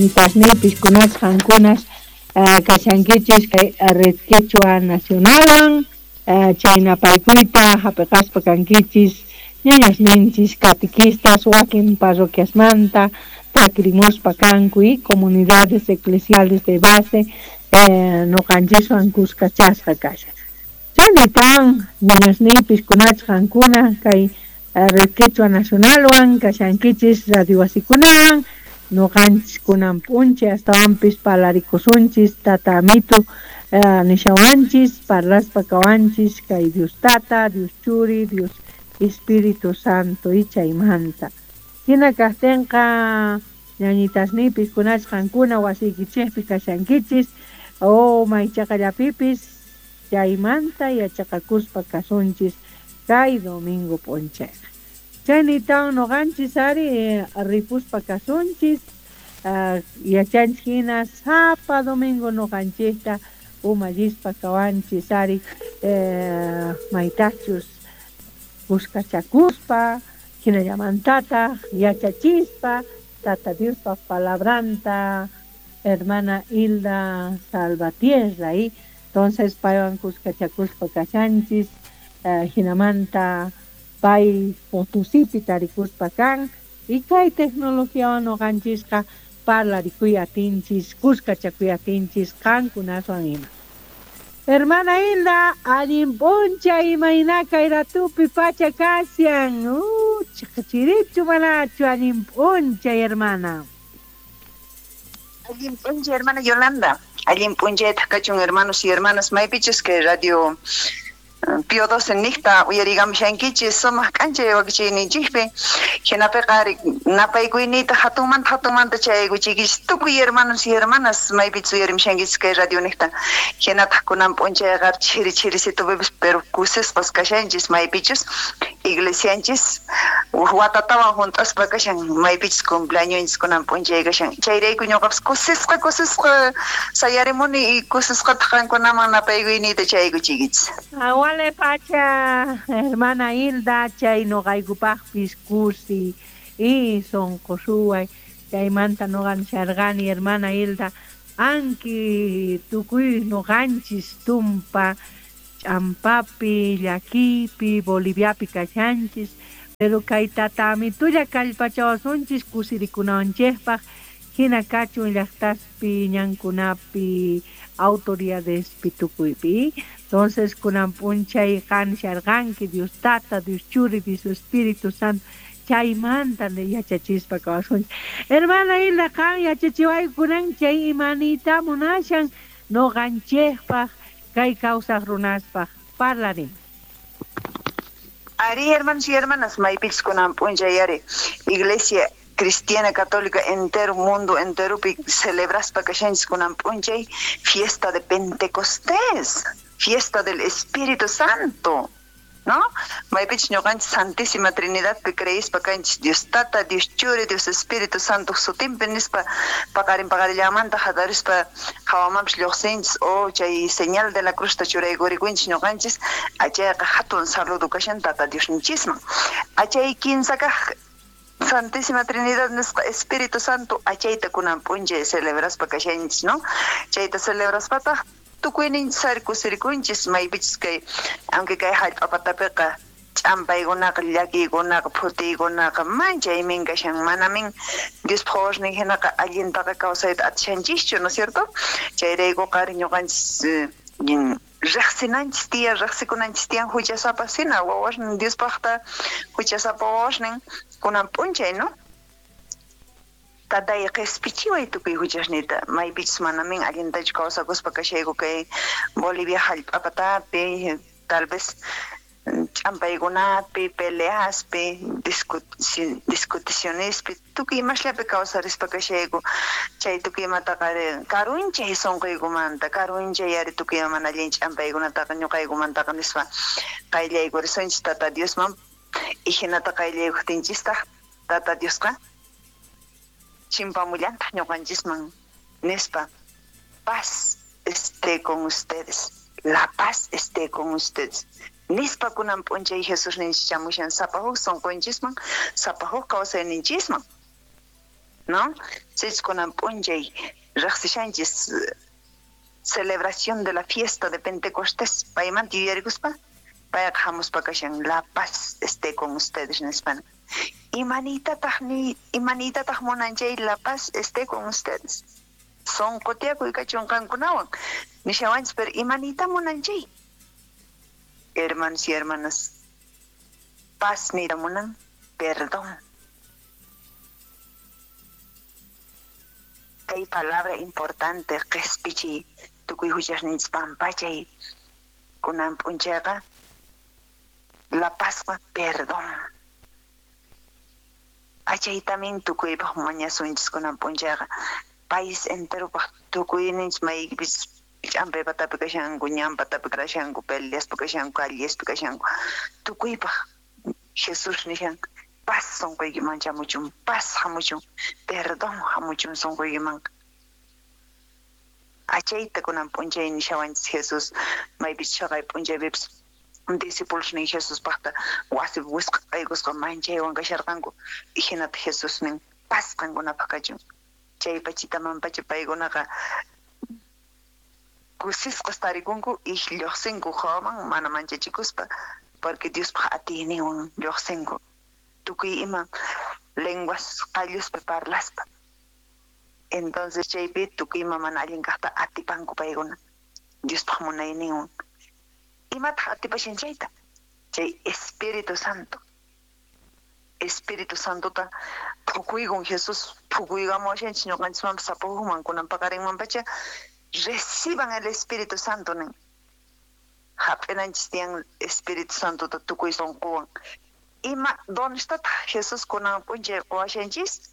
Ñañitasniypis kunas qankunas kashankichis kay Red Quechua Nacionalwan chaynapaykuyta hap'iqaspa kankichis ñañasninchis catequistas wakin parroquiasmanta takrimuspa kanku y comunidades eclesiales de base noqanchiswan kuskachasqa kashan. Chaynitawan ñañasniypis kunachis qankuna kay Red Quechua Nacionalwan kashankichis radio wasikunawan noqanchis kunan p'unchay astawanpis parlarikusunchis tata amitu nishawanchis parlaspa kawanchis kay Dios Tata, Dios Churi, Dios Espíritu Santo y chaymanta. Hina kaqtinqa ñañitasniypis kunachis qankuna wasiykichikpi kashankichis o maychaqallapipis chaymanta yachaqakuspa kasunchis kay domingo p'unchayqa. Chaynitawan noqanchis ari ripuspa kasunchis yachanchis hina sapa domingo noqanchikta umallispa kawanchis ari maytachus kuskachakuspa hinallamantataq yachachispa Tata Diospa palabranta hermana Hilda Salvatierra y entonces paywan kuskachakuspa kashanchis hinamanta pay Potosipi tarikuspa kan y kay tecnologiawan noqanchisqa parlarikuy atinchis kuskachakuy atinchis qankunaswan ima. Hermana Hilda, allin p'unchay imayna kay ratupi pacha kashan chirichu manachu allin p'unchay hermana. Allin p'unchay hermana Yolanda, allin p'unchaytaq kachun hermanos y hermanas maypichus kay radio Pío XII niqta uyarigamushankichis sumaq k'anchay wakichiyninchikpi hinapiqa ari napaykuyniyta hatunmanta hatunmanta chayaykuchiykichis tukuy hermanos y hermanas maypichus uyarimushankichis kay radio niqta hinataq kunan p'unchayqa chiri chirisitupipis pero kusisqas kashanchis maypichus iglesianchis huk watatawan hunt'aspa kashan maypichus cumpleañonchis kunan p'unchay kashan chayrayku ñuqapas kusisqa kusisqa sayarimuni y kusisqataq qankunaman napaykuyniyta chayaykuchiykichis. Awale pacha hermana Hilda chay noqaykupaqpis kusi y sonqo suway chaymanta noqa nisharqani hermana Hilda anki tukuy noqanchis tumpa ch'ampapi llakiypi Boliviapi kashanchis pero kay tata amitulla kallpachawasunchis kusirikunawanchikpaq hina kachun llaqtaspi ñankunapi autoridadespi tukuypi. Entonces kunan p'unchay qan nisharqanki Dios Tata, Dios Churi, Dios Espíritu Santo chaymanta yachachispa kawasunchis. Hermana Hilda qan yachachiwayku kunan chay imaniyta munashan noqanchikpaq kay kawsaq runaspaq parlarin. Ari hermanos y hermanas maypichus kunan p'unchay ari iglesia cristiana católica entero mundo enteropi celebraspa kashanchis kunan p'unchay fiesta de Pentecostés, fiesta del Espíritu Santo, ¿no? Maypichus ñuqanchis Santísima Trinidadpi creispa kanchis Dios Tata, Dios Churi, Dios Espíritu Santo sutinpi nispa paqarin paqarillamanta hatarispa hawamanpis lluqsinchis o chay señal de la cruzta churaykurikunchis ñuqanchis achayqa hatun saludo kashan Tata Diosninchisman. Achay kinsa kaq Santísima Trinidad nisqa Espíritu Santo achayta kunan p'unchay celebraspa kashanchis, ¿no? Chayta celebraspataq tukuyninchis ari kusirikunchis maypichus kay aunque kay hallp'a patapiqa ch'ampaykunaqa llakiykunaqa phutiykunaqa manchaymin kashan manamin Diospaq wawasnin hinaqa allintaqa kawsayta atishanchischu, ¿no es cierto? Chayraykuqa ari ñuqanchis riqsinanchis tiyan riqsikunanchis tiyan huchasapa hina wawasnin Diospaqta huchasapa wawasnin kunan p'unchay, ¿no? Tatay qhispichiway tukuy huchasniyta maypichus manamin allintachu kawsakuspa kashayku kay Bolivia hallp'a patapi tal vez ch'ampaykunapi peleaspi discuticionespi tukuy imasllapi kawsarispa kashayku chay tukuy imataqa ari karunchay sunquykumanta karunchay ari tukuy ima mana allin ch'ampaykunataqa ñuqaykumantaqa nispa qayllaykurishunchis Tata Diosman y hinata qayllaykuqtinchistaq Tata Diosqa chimpamullantaq ñuqanchisman nispa paz esté con ustedes, la paz esté con ustedes nispa kunan p'unchay Jesusninchis chamushan sapa huk sunqunchisman sapa huk kawsayninchisman. ¿No? Sichus kunan p'unchay riqsishanchis celebración de la fiesta de Pentecostés, paymanta yuyarikuspa, payqa hamuspa kashan la paz esté con ustedes nispa. Imaniytataq munan chay la paz esté con ustedes? Sonqo tiyakuy kachun qankunawan nishawanchis, pero imaniyta munan chay? Hermanos y hermanas, paz niyta munan perdón. Kay palabra importante qhispichiy tukuy huchasninchis pampachay kunan p'unchayqa la pazqa perdón. Achaytamin tukuypaq mañasunchis kunan p'unchayqa país enteropaq tukuyninchis maykipis ch'ampay patapi kashanku, ñan patapi kashanku, peleaspa kashanku, callespi kashanku, tukuypaq Jesús nishan paz sonqoykiman chamuchun, paz hamuchun, perdón hamuchun sonqoykiman. Achayta kunan p'unchay nishawanchis Jesús maypis chhaqay p'unchaypipis discípulos nin Jesuspaqta wasipi wisq'aykusqa manchaywan kasharqanku, hinata Jesús nin paz qankunapaq kachun. Chay pachitamanpacha paykunaqa kusisqas tarikunku y lluqsinku hawaman mana manchachikuspa, porque Diospaq atiyninwan lluqsinku tukuy ima lenguas qalluspi parlaspa. Entonces chaypi tukuy ima mana allin kaqta atipanku paykuna Diospaq munayninwan. Imataq atipashan chayta? Chay Espíritu Santo. Espíritu Santota phukuykun Jesús phukuykamuwashanchis ñuqanchismanpas sapakuqman kunan paqarinmanpacha reciban el Espíritu Santo nin. Hap'inanchis tiyan Espíritu Santota tukuy sunquwan. Ima donestataq Jesús kunan p'unchay quwashanchis?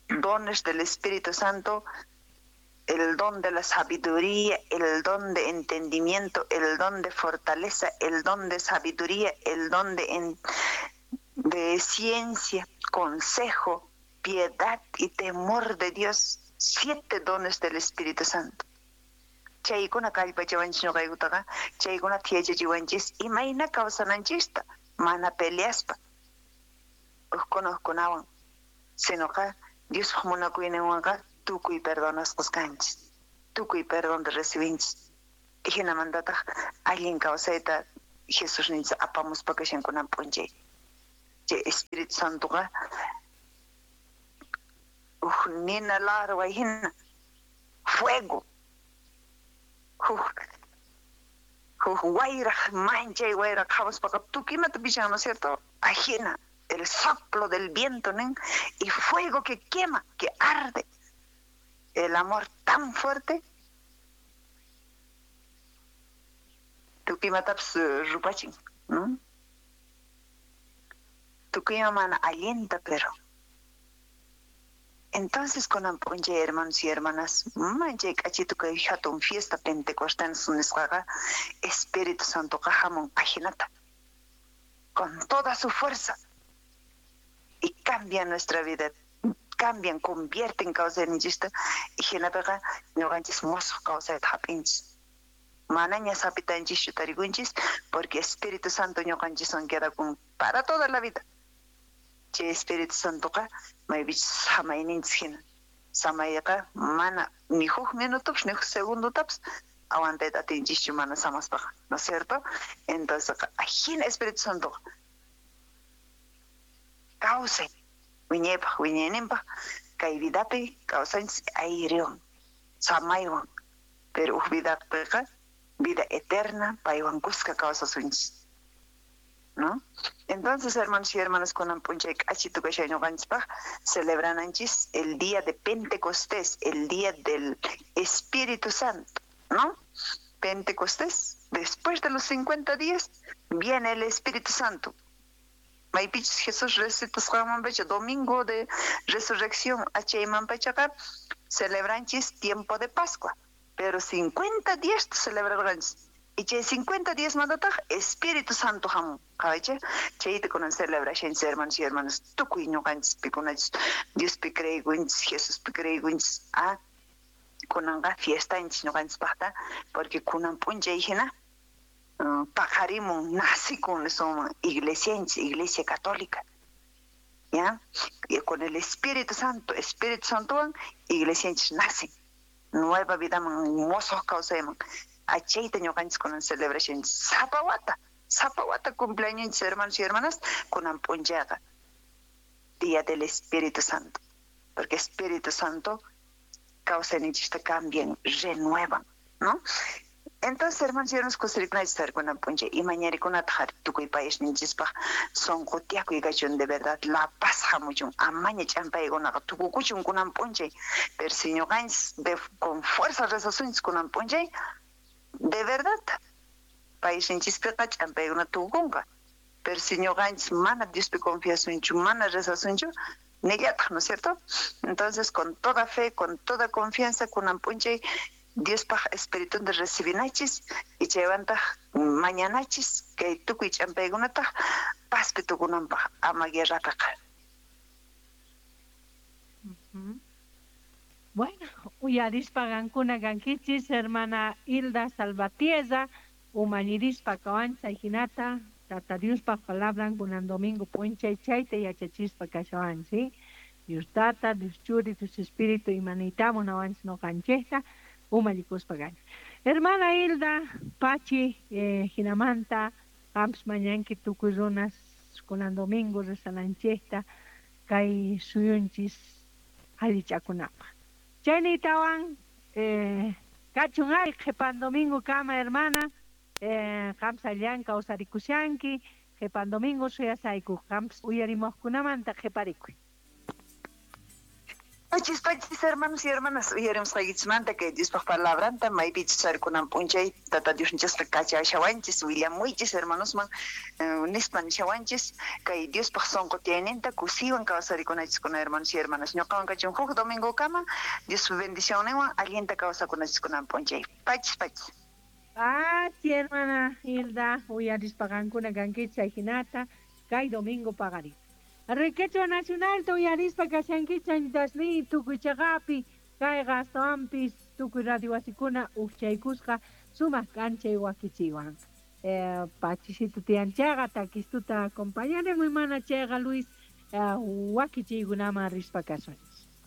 Dones del Espíritu Santo, el don de la sabiduría, el don de entendimiento, el don de fortaleza, el don de sabiduría, el don de ciencia, consejo, piedad y temor de Dios. 7 dones del Espíritu Santo. Chaykuna kallpachawanchis ñuqaykutaqa, chaykuna yachachiwanchis imayna kawsananchista, mana peleaspa ukkuna ukkunawan, sinoqa Diospaq munakuyninwanqa tukuy perdonasqas kanchis, tukuy perdonta recibinchis. Hinamantataq allin kawsayta Jesús ninchis apamuspa kashan kunan p'unchay. Chay Espíritu Santoqa uj nina larway hina, fuego, huk wayraq manchay wayraq qhawaspaqqa tukuy imata pishan, ¿no es cierto? Ajina, el soplo del viento, nin, y fuego que quema, que arde. El amor tan fuerte, tukuy imatapis rupachin, ¿no? Tukuy ima mana allinta, pero entonces kunan p'unchay hermanos y hermanas, manchay k'achitu kay hatun fiesta Pentecostés nisqaqa Espíritu Santoqa hamun ajinata con toda su fuerza y cambia nuestra vida, cambian, convierten kawsayninchista y hinapiqa ñuqanchis musuq kawsayta hap'inchis. Manaña sapitanchischu tarikunchis porque Espíritu Santo ñuqanchiswan quedakun para toda la vida. Chay Espíritu Santoqa maypichus samayninchis hina. Samayqa mana ni huk minutopis ni huk segundotapis aguantayta atinchischu mana samaspaqa, ¿no es cierto? Entonces ajina Espíritu Santoqa kawsay wiñaypaq wiñayninpaq kay vidapi kawsanchis ayriwan samaywan, pero huk vidapiqa vida eterna paywan kuska kawsasunchis, ¿no? Entonces, hermanos y hermanas, kunan p'unchay k'achitu kashay ñuqanchispaq celebrananchis el día de Pentecostés, el día del Espíritu Santo, ¿no? Pentecostés, después de los 50 días, viene el Espíritu Santo. Maypichus Jesús resucitasqanmanpacha, domingo de resurrección, achaymanpachaqa celebranchis tiempo de Pascua, pero 50 días celebrarganchis. Y chay 50 días mandataq Espíritu Santo hamun. Qhawaychik, chayta kunan celebrashanchis hermanos y hermanas, tukuy ñuqanchis pikunachis Diospi creekunchis, Jesuspi creekunchis, kunanqa fiestanchis ñuqanchispaqta, porque kunan p'unchay hina paqarimun, nacikun nisunman iglesianchis, iglesia católica. ¿Ya? Y con el Espíritu Santo, Espíritu Santowan iglesianchis nacen. Nueva vidaman, mosoj kawsayman. Achayta ñuqanchis kunan celebración sapa wata, sapa wata cumpleaños hermanos y hermanas kunan p'unchayqa. Día del Espíritu Santo. Porque Espíritu Santo kawsayninchista cambian, renuevan, ¿no? Entonces, hermanos y hermanas, kusirikunachis kunan p'unchay imañarikunata tukuy paisninchispaj sonqo tiyakuy kachun, de verdad, la paz hamuchun, amaña ch'ampaykunaqa tukukuchun kunan p'unchay. Pero si ñuqanchis con fuerza rezasunchis kunan p'unchay, de verdad, paisninchispiqa ch'ampaykuna tukukunqa. Pero si ñuqanchis mana Diospi confiasunchu, mana rezasunchu, nillataq, ¿no es cierto? Entonces, con toda fe, con toda confianza, kunan p'unchay, Diospaj espiritunta recibinachis y chaywantaq mañanachis kay tukuy ch'ampaykunataq pazpi tukunanpaj ama guerrapiqa. Bueno, uyarispa qankuna kankichis hermana Hilda Salvatierra, umallirispa kawanchay hinata, Tata Diospaj palabran kunan domingo p'unchay chayta yachachispa kashawan, ¿sí? Dios Tata, Dios Churi, Dios Espíritu imaniyta munawanchis noqanchejta umallikuspa kanchis. Hermana Hilda, Pachi, hinamanta, qampis mañanki tukuy runas kunan domingo rezananchejta kay suyunchis allichakunapaj. Chaynitawan kachun ari qhipan domingo kama, hermana, qampis allan kawsarikushanki, qhipan domingo suyasayku, qampis uyarimuqkunamanta qhiparikuy. Pachis, pachis, hermanos y hermanas, uyarimusqaykichismanta kay Diospaj palabranta, maypichis charikunan p'unchay, Tata Diosninchasqa kachashawanchis, willamuychis hermanosman, nispa nishawanchis, kay Diospaj sonqo tiyayninta kusiywan kawsarikunachiskunam, hermanos y hermanas. Ñuqawan kachun huk domingokama, Diospa bendicionninwan allinta kawsakunachiskunam p'unchay. Pachis, pachis. Pachi, hermana Hilda, uyarispa qankuna kankichis chay hinata, kay domingo paqarin. Riquechua Nacional uyarispa kashankichis añitasni tukuy chaqapi, kayqa astawanpis tukuy radio wasikuna ujchaykusqa sumaq k'anchay wakichiwan. Pachisito tiyan chayqa takistuta acompañaremos mana chayqa Luis wakichiykunaman rispa kasunchis.